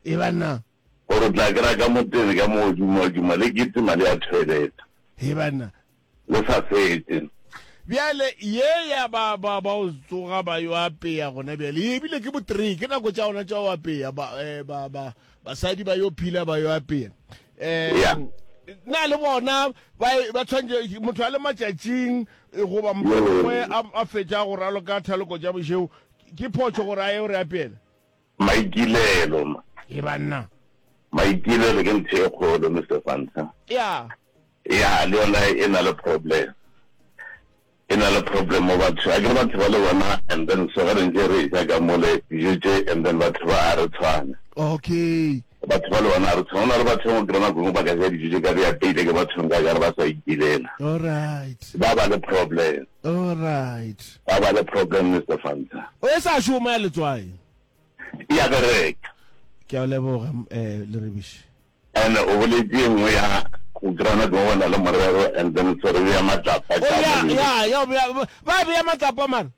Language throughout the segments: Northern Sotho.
E banna. Gore o tla kry-a ka mo teng ka mo duma-duma le kitima le ya toilet. He banna. Le sa fetše. Bjale ye ya ba ba ba o tsoga ba yo apeya gona bjale ye ebile ke bo three ke nako tša gona tša go apeya ba eh, ba ba basadi ba yo phila ba yo apeya eh Yeah. na le bona ba ba tshwanetse motho a le matšatšing eh, goba mohlomongwe a a fetša go raloka thaloko tša bošego ke phošo gore a ye gore apeela Maikilelo ma. Ye banna. Maikilelo ke ntho e kgolo Mister Fanta. Ya. Ya le yona e na le problem. E na le problem mo batho. A ke re batho ba le bona and then so ge re ntse re ja ka mole dijo tše and then batho ba a re tshwana. Okay. Batho ba le bona a re tshwana. Go na le batho ba kry nako nngwe ba ka ja dijo tše ka di apeile ke batho nka ka re ba sa ikilela. All right. Ba ba le problem. All right. Ba ba le problem Mister Fanta. O e sa šoma ya letswai. E a bereka. Ke a o leboga eh Leribiši. And o boletše e nngwe ya go kry-a nako go na le morero and then so re bea matlapa Oh ka ya mo ya ya bea ba bea matlapa mara.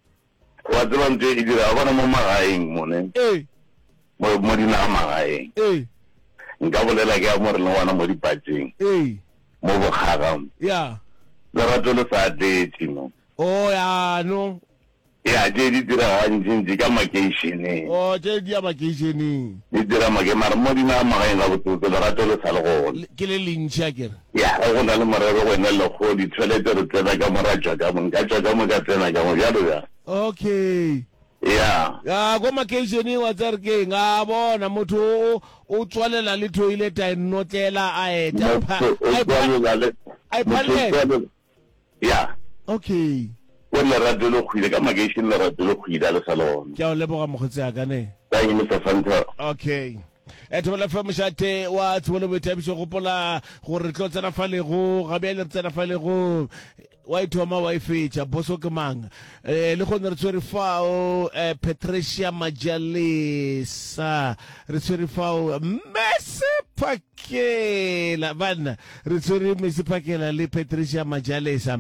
Wa tseba ntho e dira wa bona mo magaeng mo ne. Ee. Mo mo dinaga magaeng. Ee. Nka bolela ke ya mo re leng gona mo dipatšeng. Ee. Mo bokgaga mo. Ya. Lerato le sa tletše mo. Oh ya no. Ya, tše di dira gantšintši ka makeišeneng. Oh, tše di ya makeišeneng. Di dira make, mara mo dinaga magaeng gabotsebotse lerato le sa le gona. Ke le lentši akere? Ya, ge go na le morero go ena le lekgowa, ditšhelete re tsena ka mo ra tšwa ka mo, nka tšwa ka mo ka tsena ka mo, bjalo bjalo. Okay. Ya. Ya, ko makeišeneng wa tseba re ke eng? A bona, motho o, o tswalela le toilet a e notlela a eta. Motho o tswalela le, A motho o iphallela. tswalela. Ya. Okay. O lerato le kgwile ka makeišene lerato le kgwile a le sa le gona. Ke a o leboga mokgotsi a ka ne. Thank you Mister Fanta. Okay. E Thobela FM mošate wa tsebo le boithabišo gopola gore re tlo tsena fa lego ga bjale re tsena fa lego wa ithoma wa e fetša boso ke mang eh le gone re tshwere fao eh, Patricia Majalesa re tshwere fao Mese Phakela banna Re tshwere Mesi Phakela le Patricia Majalesa.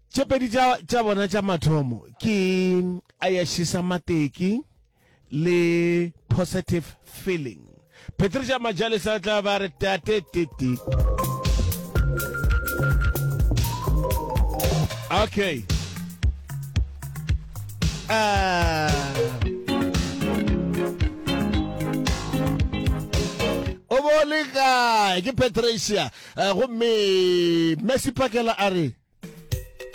Tše pedi tša, tša bona tša mathomo ke Ayashisa Mateki le Positive Feeling. Patricia Majalesa o tla ba re tate tete. Okay. Ah. O bo le kae? Ke Patricia. Eh, gomme Messi Phakela a re.